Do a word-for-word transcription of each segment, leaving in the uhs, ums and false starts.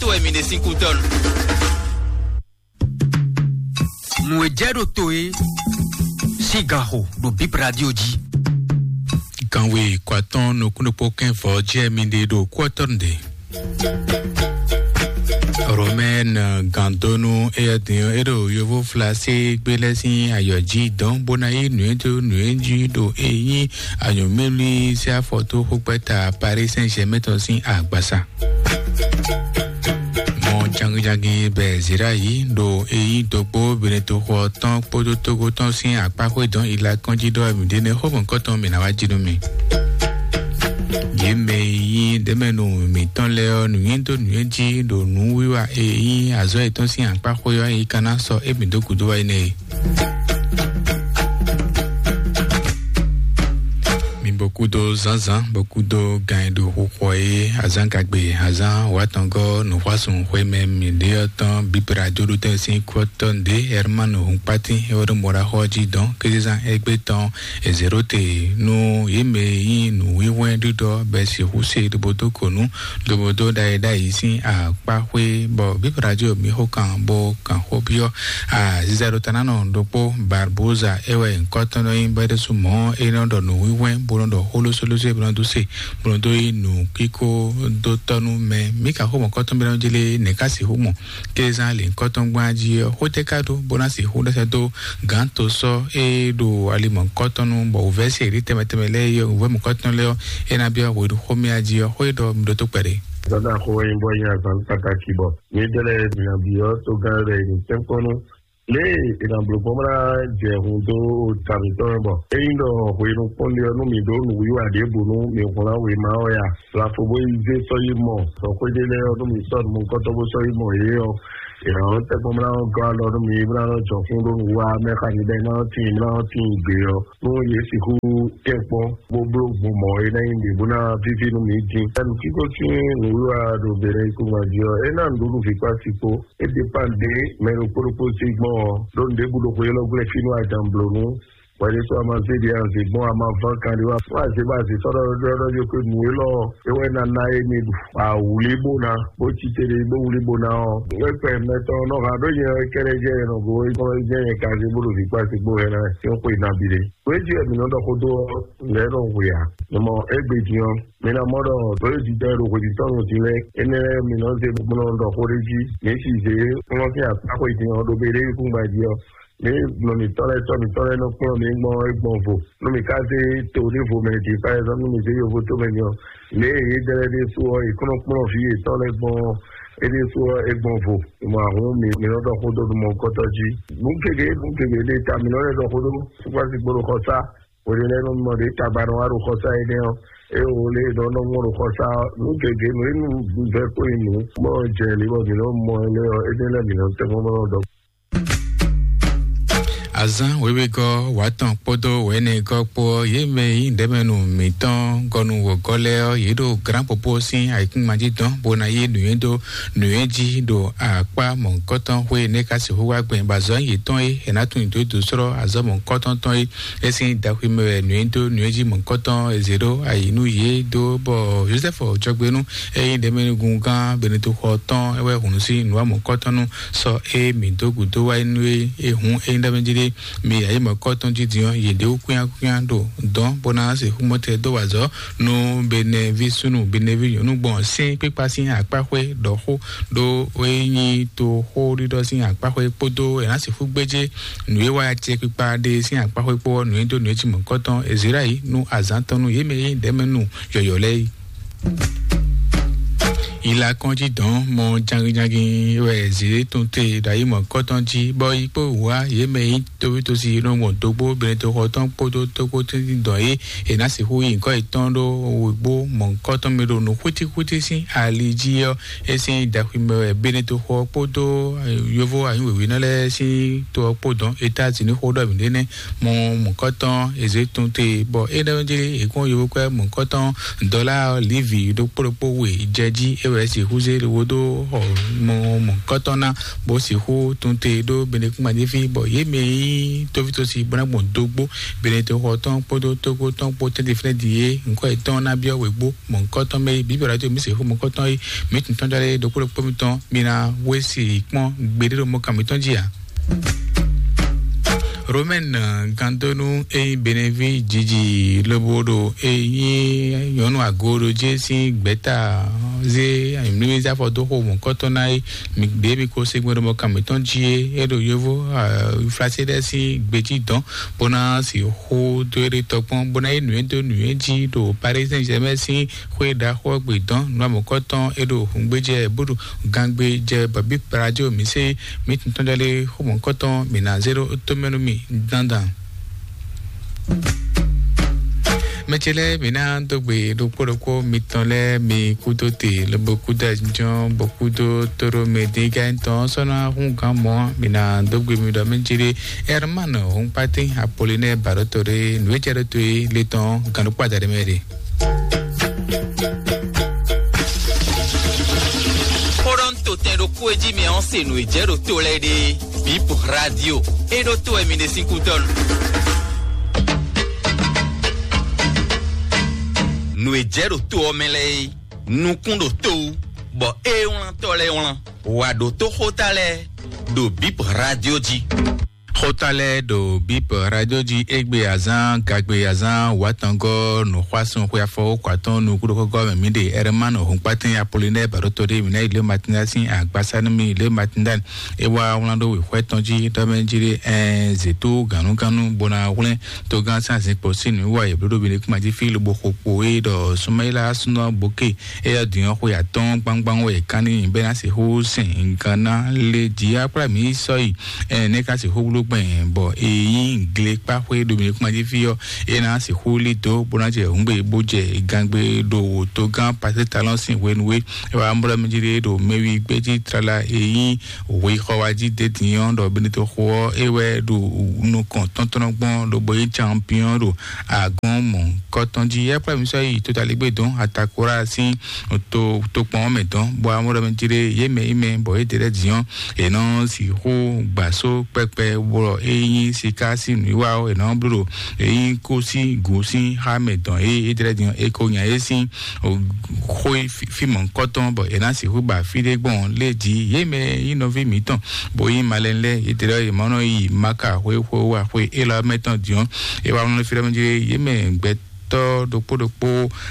To wɛ mi ɖe sín kú tɔn. Nǔ e jɛ ɖo to e sín ganxo ɖo Bib Radio jí. Ganwe kɔatɔn nukúnnukpó kɛnvɔ jɛ mi ɖe ɖo kú ɔ́ tɔn ɖe. Romɛn gandonu eyadin e ɖo yovo flasi gbélé sín ayɔ jí dɔn bó ná yí nǔ e dó nǔ e jí ɖo e nyí anyɔ̌mɛlú sí afɔtó xókpɛ́ta Paris Saint-Germain tɔn sín agbasa. Mɔ jangijangi bɛ zira yi ɖo e nyí dogbo Benetoxɔ tɔn kpódó Togo tɔn sín akpáxwé dɔn ila kɔnjí ɖɔ mi ɖe ne xó mɔ̌kɔtɔn mi ná wá jí nú mi. Yě mɛ e nyí ɖɛ̌mɛnu mǐtɔn lɛ́ɛ ɔ́, nǔnywɛ́ dó nǔnywɛ́ jí ɖo nǔwiwa e nyí azɔ̌ yětɔn sín akpáxwé ɔ́, é ka ná sɔ́ émí dó gǔdo wá énɛ́ e. Mi bɔ kúdó zǎnzǎn, bɔ kúdó gan e ɖo xixɔ e azǎn gagbe, azǎn wǎtɔngɔ́ nǔxwásùn xwemɛ mǐɖéyɔ́ tɔn bíbra jóɖútɛn sín kútɔ́ ɖě Hermanu Hunkpátín e wɛ ɖo mɔɖaxɔ jí dɔn kézezán égbé tɔn e zěɖóte nú yě mɛ e nyí nǔwínhwɛ́n ɖiɖɔ bɔ è sixú se ɖobo dó kɔnu, lobo dó ɖa e ɖ'ayǐ sín akpá xwé, bɔ bíbrajo mǐ xo kan bó kan xó byɔ́. Aziza ɖo ta ná nɔ ɖokpó Barboza é wɛ nyǐkɔ tɔn nɔ nyí bɔ é ɖésú mɔ̌ é nɔ ɖɔ nǔwínhwɛ́n bó nɔ ɖɔ xó lósólósó é bó nɔ dó se bó nɔ dó yí nǔ kíkó dó tɔ́ nú mɛ. Mǐ ka xó mɔ̌kɔtɔn bí nɔ jlé nɛ̌ ká sixú mɔ kézán lǐnkɔ́tɔn gbán jí ɔ́, xó tɛ́ ká ɖó bó ná sixú ɖɛ́sɛ́ dó gǎn to sɔ́ é ɖo ali mɔ̌kɔtɔn nu, bɔ wǔvɛ́ se ɖě tɛnmɛ tɛnmɛ lɛ́ɛ é wǔvɛ́ mɔ̌kɔtɔn lɛ́ɛ ɔ́, é ná byɔ́ hweɖuxómɛ jí ɔ́, xó e ɖɔ mi ɖótó kpɛɖé. Dɔda xo yin bɔ yin azan pataki bɔ mi dɛ lɛ mi na bi ɔ to gan lɛ ni tɛnkɔnu le e na blo bɔ mla jɛ hun do ta mi tɔ bɔ eyin dɔ hwenu kpɔn le ɔ nu mi do nu wiwa de bu nu mi hlan we ma ɔ ya. Lafo bo yi ze sɔ yi mɔ sɔ xwe de lɛ ɔ nu mi sɔ nu kɔtɔ bo sɔ yi mɔ ye ɔ. Ìrànlọ́wọ́ tẹ́gbọ́n mìíràn gán lọ nú mi mìíràn jọ fún lónìí wá mẹ́fà níbẹ̀ náà tì mìíràn tì gbé ọ. Nú yé sixú kẹ́kpɔ́n bó bló gbɔn mɔ̌ é ná nyí ɖě bó ná víví nú mi dín. Ɛnu kíkó sín nǔwiwa ɖo bělɛ ikú jí ɔ, é ná nǔɖuɖu vǐ kpá sí kpó. É dépend ɖé mɛ ɖokpó ɖokpó sí gbɔn ɔ, ɖó nǔɖé bú ɖokpó élɔ́ gblɛ́ fínú ajan blǒ nú. Wɛɖésú a ma zé ɖi anzě gbɔn a ma ván kan ɖi wá. Fún azě bɔ azě sɔ́ ɖɔ ɖɔ ɖɔ ɖɔ ɖɔ nǔ élɔ́ é wɛ ná ná é mi ɖu. Awǔlí bó ná bó cí te ɖe bó wúlí bó ná ɔ́. Wɛkpɛ mɛtɔn nɔ ha ɖó nyɛ kɛɖɛ jɛ nɔ go é kɔn jɛ nyɛ ka zé bó ɖo vǐ kpá sí gbó hɛn ná é xwe ná bi ɖe. Wé jí wɛ mǐ nɔ ɖɔ xó dó ɔ́, lɛ̌ nɔ hu ya. Nɔ mɔ égbé din ɔ́, mi ná mɔ ɖɔ ɖó é jijɛ ɖo hwědítɔ́ nɔ din lɛ́ɛ. Énɛ́ lɛ́ɛ mǐ nɔ zé bó nɔ ɖɔ xó ɖé jí. Mǐ si zě kplɔ́n sín akpá xwe din ɔ́ ɖo bé ɖé kúngba jí ɔ́. Ní nɔ mǐtɔn lɛ́ɛ tɔ́ mǐtɔn lɛ́ɛ nɔ kplɔ́n mǐ gbɔn é gbɔn vo. Nú mǐ ka zé to ɖěvo mɛ din, par exemple, nú mǐ zé yovo tó mɛ din ɔ́, lě e yě dɛ lɛ́ɛ ɖésú ɔ́, yě kɔn nɔ kplɔ́n vǐ yětɔn lɛ́ɛ gbɔn é ɖésú ɔ́, é gbɔn vo. Mɔ ahun mǐ mǐ nɔ ɖɔ xó dó nú mɔ̌hunkɔtɔn jí. Nǔ gěgé nǔ gěgé ɖé ta mǐ nɔ lɛ́ ɖɔ xó dó fúkpásí kpó ɖo xɔsá. Hweɖé lɛ́ɛ nú mɔ ɖě tagba nɔ wá ɖo xɔsá énɛ́ ɔ́, é wǒ lě e nɔ nɔ mɔ ɖo xɔsá ɔ́, nǔ gěgé nǔ e nú vɛ́ kó nyi nǔ mɔ jɛ lě bɔ mǐ nɔ mɔ ɛ lɛ́ɛ ɔ́, énɛ́ lɛ́ɛ mǐ nɔ tɛ́ mɔ nɔ ɖɔ. Azán wěwegɔ́ wǎtɔn kpódó wɛ̌nɛgɔ́ kpó ɔ́, yě mɛ e nyí ɖɛ̌mɛnu mǐtɔn gɔnu wǒgɔ́ lɛ́ɛ ɔ́, yě ɖo glǎnpopo sín ayǐkúngban jí dɔn bó ná yí nǔnywɛ́ dó nǔnywɛ́ jí ɖo akpá mɔ̌hunkɔtɔn xwé énɛ́ ka sixú wá gbɛn bɔ azɔ̌ yětɔn e è nǎ tunwun dó dǒ slɔ́ azɔ̌ mɔ̌hunkɔtɔn tɔn é. É sín daxwi mɛ wɛ nǔnywɛ́ dó nǔnywɛ́ jí mɔ̌hunkɔtɔn è zě ɖó ayǐ nú yě dó bɔ Jozɛ́fu jɔgbenú e nyí ɖɛ̌mɛnugungán Benetoxɔ tɔn é wɛ hun nǔ sín nǔwamɔ̌hunkɔtɔn nú sɔ e mǐ dó gǔdo wá nú é. E hun é nyí ɖɔ mɛ jí ɖé mi yǎ yi mɔ̌kɔtɔn jí din ɔ́, yě ɖe wú kwíán kwíán ɖo dɔn bó ná se xú mɔtɛ dó wa azɔ̌ nú Benɛví súnnu Benɛví nyɔ̌nu gbɔn sín kpíkpa sín akpáxwé ɖɔ xó ɖó é nyí to xó ɖiɖɔ sín akpáxwé kpódó è nǎ sixú gbéjé nǔ e wá acɛ kpíkpa ɖé sín akpáxwé kpó ɔ́, nǔ e dó nǔ e cí mɔ̌kɔtɔn Ezirayí nú azǎn tɔn nú yě mɛ e nyí ɖɛ̌mɛnu yɔ̌yɔ́ lɛ́ɛ é. Ilakɔn jí dɔn mɔ jangijangi wɛ zǐ tɔn te ɖo ayi mɔ̌kɔtɔn jí, bɔ yi kpó wá yě mɛ yi toví tosi nɔ mɔ dogbo Benetoxɔ tɔn kpódó tókpó tɛ́ntin dɔn é è nǎ sixú yi nyǐkɔ yětɔn ɖó wěgbó mɔ̌kɔtɔn mɛ ɖo nǔ xwítíxwítí sín ali jí ɔ́, é sín daxwi mɛ wɛ Benetoxɔ kpódó yovo anyǔ wěwé nɔ lɛ́ɛ sín to ɔ́ kpó dɔn. États-Unis xó ɖɔ mǐ ɖé nɛ́ mɔ mɔ̌kɔtɔn è zě tɔn te, bɔ é ɖɔ jí è kɔn yovo kwɛ́ mɔ̌kɔtɔn dɔlá livi ɖokpó ɖokpó we jɛ jí é wɛ sixú zé lobo dó xɔ mɔ mɔ̌kɔtɔn ná, bó sixú tún te ɖó Benekúngbadéfí, bɔ yě mɛ e nyí tóvítósi bó ná gbɔn dógbó Benetexɔ tɔn kpódó Tógó tɔn kpó tɛ́ntin fínɛ́ din é, ŋkɔ́ yětɔn ná byɔ́ wěgbó mɔ̌kɔtɔn mɛ é. Bǐ bǐ ɔ́ ɖo mì sixú mɔ̌kɔtɔn é, mǐ tun tɔn jɔ lé ɖokpó ɖokpó mitɔn, mi ná wé si kpɔ́n gbeɖé ɖo mɔ kan mǐtɔn jí ǎ. Romɛn gandonu e nyí Benevi jiji lobo ɖo e nyí nyɔnu agoɖo jɛ sín gbɛta zé mlímlí zafɔ dó xo mɔ̌kɔtɔn ná é. Mi ɖě mi ko segbe ɖo mɔ kan mǐtɔn jí é, é ɖo yovo flaséɖɛ sín gbejí dɔn bó ná si xó dó é ɖe tɔkpɔn bó ná yí nǔ é dó nǔ é jí ɖo Paris Saint-Germain sín xwé ɖaxó ɔ́ gbe dɔn nǔ amɔ̌kɔtɔn é ɖo hǔngbéjɛ bó ɖo gangbe jɛ bɔ bí Brazil mǐ se mǐ tun tɔn jɔ lé xó mɔ̌kɔtɔn mǐ ná zé ɖó tómɛ nú mì dandan. Mɛ ce lɛ́ɛ mǐ ná dó gbe ɖokpó ɖokpó mitɔn lɛ́ɛ mi kúdó te lobo kúdó ajínjɔ́n bɔ kúdó tóɖó mɛ dín ká nyí tɔn sɔ́ ná hún gǎn mɔ̌ mǐ ná dó gbe mi ɖɔ mɛ ce ɖé Herman Hɔnkpatí Apolinɛ Baɖótɔɖé nǔ e jɛ ɖó to é le tɔn gǎn ɖokpó adaɖé mɛ ɖe. Xó ɖɔ un to tɛn ɖokpó e jí mi ɔ́ se nǔ e jɛ ɖo to lɛ́ɛ ɖe. Bip Radio e ɖo to wɛ mi ɖe sín kútɔ́ nu. Nǔ e jɛ ɖo to ɔ́ mɛ lɛ́ɛ é, nukún ɖo to wú, bɔ é wlántɔ́ lɛ́ɛ wlán. Wǎ ɖótó xóta lɛ́ɛ ɖo Bip Radio jí. Xóta lɛ́ɛ ɖo Bip Radio jí égbé azán gagbe azán wǎtɔngɔ́ nǔxwásún xwe afɔwókɔ atɔn nukúɖokɔ́gɔ́ mɛ mǐ ɖe Ɛrɛmánu Hɔnkpatɛn Apolinɛ́ɛ Baɖótɔɖé mǐ ná yi lě Matinda sín agbásá nú mì lě Matinda. É wá wlán ɖó wěxwɛ́ tɔn jí ɖɔ mɛ jí ɖé ɛɛ zětó gǎnúgánú bó ná hwlɛ́n togán sín azinkpo sín nǔwiwa e bló ɖo Benekúma jí fí lobo xo kpo é ɖɔ Sumayila súnɔ Bóke é yɔ dǐn ɔ́ xwe atɔ́ɔ́n gbangban wɛ è kán n'i bɔ é ná sixú sɛn gǎn ná lé jǐ akplá mǐ sɔ́ yi. Ɛnɛ́ ka sixú bló gbɛn bɔ è nyí glekpáxwé ɖo Benekúma jí fí ɔ́, é ná sixú lí dó bó ná jɛ hǔngbe bó jɛ gangbe ɖo togán Patlítalɔ́n sín hwenu é. É wá mblɔ́ mì jí ɖe ɖo mɛwi gbéjí tlala e nyí hwexɔ wá jí d'é din ɔ́ ɖɔ Benito xo ɔ́ é wɛ ɖo nukɔn tɔntɔnnɔ gbɔn lobo nyí champion ɖo agɔn mɔ̌hunkɔtɔn jí. É kplá mì sɔ́ yi totaligbé dɔn Atakora sín to tokpɔn ɔ́ mɛ dɔn bɔ amɔ́ ɖɔ mɛ jí ɖe yě mɛ yi mɛ bɔ yě ɖe lɛ́ din ɔ́, è nɔ sixú gbǎ só kpɛkpɛ bɔ é nyí siká sín nǔwiwa ɔ́, è nɔ bló ɖo é nyí kó sín gǔ sín xá mɛ dɔn é é ɖe lɛ́ din ɔ́, è ko nya é sín xó fí mɔ̌hunkɔtɔn bɔ è nǎ sixú ba fí ɖé gbɔn lé jí. Yě mɛ nyí nɔví mǐtɔn bó nyí malɛn lɛ́ɛ, yě ɖe ɖɔ yě ma nɔ yi Maka xwé xwé wá xwé élɔ́ mɛ tɔn din ɔ́, é wá nɔ fí ɖɔ mɛ jí yě mɛ gbɛtɔ́ ɖokpó ɖokpó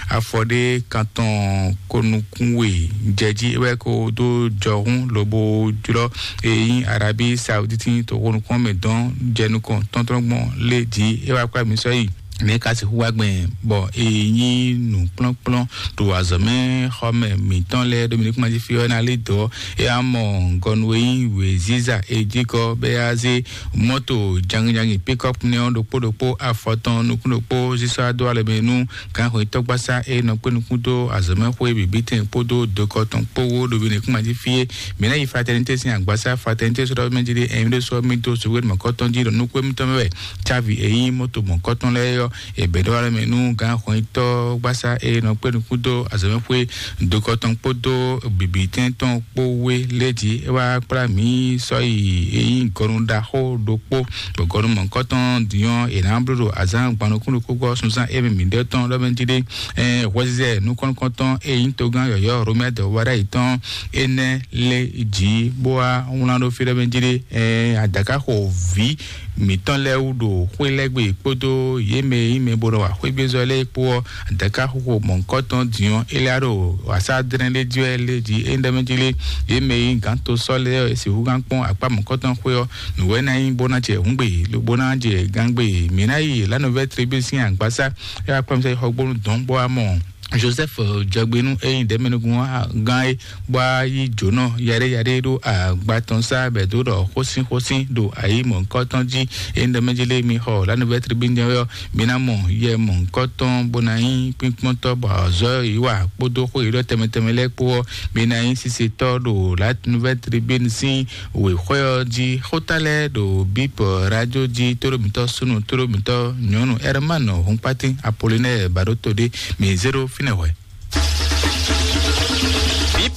afɔ ɖé kan tɔn ko nukún we jɛ jí é wɛ ko dó jɔhún lobo jlɔ́ e nyí Arabi Sauditi to xo nukún mɛ dɔn jɛ nukɔn tɔntɔn gbɔn lé jí é wá kplá mǐ sɔ́ yi. Nɛ̌ ka sixú wá gbɛn bɔ è nyí nǔkplɔ́nkplɔ́n ɖo azɔ̌mɛ xɔmɛ mǐtɔn lɛ́ɛ ɖo Benekúma jí fí ɔ́ ná lé dɔ̌? É wá mɔ gɔnu e nyí wěziza e jí kɔ bɔ é wá zé mɔ́to jangijangi pikɔ́pu nɛ́ ɔ́ ɖokpó ɖokpó afɔ tɔn nukún ɖokpó sísɔ́ dó alɔ mɛ nú gǎnxwetɔ́gbasá e nɔ kpé nukún dó azɔ̌mɛxwé bǐbítɛn kpódó dokɔ tɔn kpó wó ɖo Benekúma jí fí é. Mǐ ná yi Fraternité sín agbasá Fraternité sɔ́ ɖɔ mɛ jí ɖé ɛ̀mí ɖé sɔ́ mì dó sowéɖo mɔ̌kɔtɔn jí ɖo nukún émítɔn mɛ wɛ. Cávi e nyí moto mɔ̌kɔtɔn lɛ́ɛ ɔ́, è bɛ̌ ɖó alɔ mɛ nú gǎnxɔnyitɔ́ gbasá e nɔ kpé nukún dó azɔ̌mɛxwé dokɔ tɔn kpódó bǐbítɛn tɔn kpó wé lé jí. É wá kplá mǐ sɔ́ yi e nyí gɔnu ɖaxó ɖokpó, bɔ gɔnu mɔ̌kɔtɔn din ɔ́, è nǎ bló ɖo azǎn gban nukún ɖokpó gbɔ sunzán émí mǐɖɛtɔn ɖɔ mɛ jí ɖé. Ɛɛ hwɛzizɛ nukɔn-nukɔntɔn e nyí togán yɔ̌yɔ́ Romɛ́a dɔ̌wúɖá yětɔn énɛ́ lé jǐ bó wá wlán ɖó fí ɖɔ mɛ jí ɖé. Ɛɛ adǎkáxo vǐ mǐtɔn lɛ́ɛ wú ɖo xwé lɛ́ɛ gbe kpódó yě mɛ e nyí mɛ bo nɔ wa xwégbézɔ́ lɛ́ɛ kpó ɔ́, adǎkáxoxo mɔ̌hunkɔtɔn din ɔ́, é lɛ́ ɖo wǎsá dlɛ́n ɖé jí wɛ lé jí é ɖɔ mɛ jí lé. Yě mɛ e nyí gǎn to sɔ́ lɛ́ɛ ɔ́, è sixú gán kpɔ́n akpá mɔ̌hunkɔtɔn xwé ɔ́, nǔ wɛ ná nyí bó ná jɛ hǔngbe, lobo ná jɛ gángbe. Mǐ ná yi La Nouvelle Tribune sín agbasá, é wá kplɔ́n mì sɔ́ yi xɔgbónu dɔ̌n bó wá mɔ Joseph Jɔgbenu e nyí ɖɛ̌mɛnúgún gán é bó wá yí jǒnɔ yaɖéyaɖé ɖó agba tɔn sá bɛ̌ dó ɖɔ xósínxósín ɖo ayǐ mɔ̌hunkɔtɔn jí. É nyí ɖɔ mɛ jí lé mi xɔ La Nouvelle Tribune jɛ́n ɔ́, mi ná mɔ yɛ mɔ̌hunkɔtɔn bó ná nyí kpínkpɔ́ntɔ́ bɔ azɔ̌ e yě wa kpódó xó e yě ɖɔ tɛnmɛ tɛnmɛ lɛ́ɛ kpó ɔ́, mi ná nyí sisetɔ́ ɖo La Nouvelle Tribune sín wěxwɛ́ ɔ́ jí. Xóta lɛ́ɛ ɖo Bip Radio jí, tóɖó mǐtɔn súnnu, tóɖó mǐtɔn nyɔ̌nu Herman Hɔnkpátín Apolinɛ́ɛ Baɖótodé, mi zé ɖó fínɛ́ hwɛ.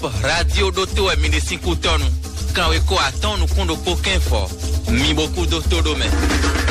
Top Radio ɖótó wɛ mi ɖe sín kútɔ́nu. Kanwekó atɔ́ɔ́n nukún ɖokpó kɛ́n fɔ. Mi bo kú dó tó ɖó mɛ.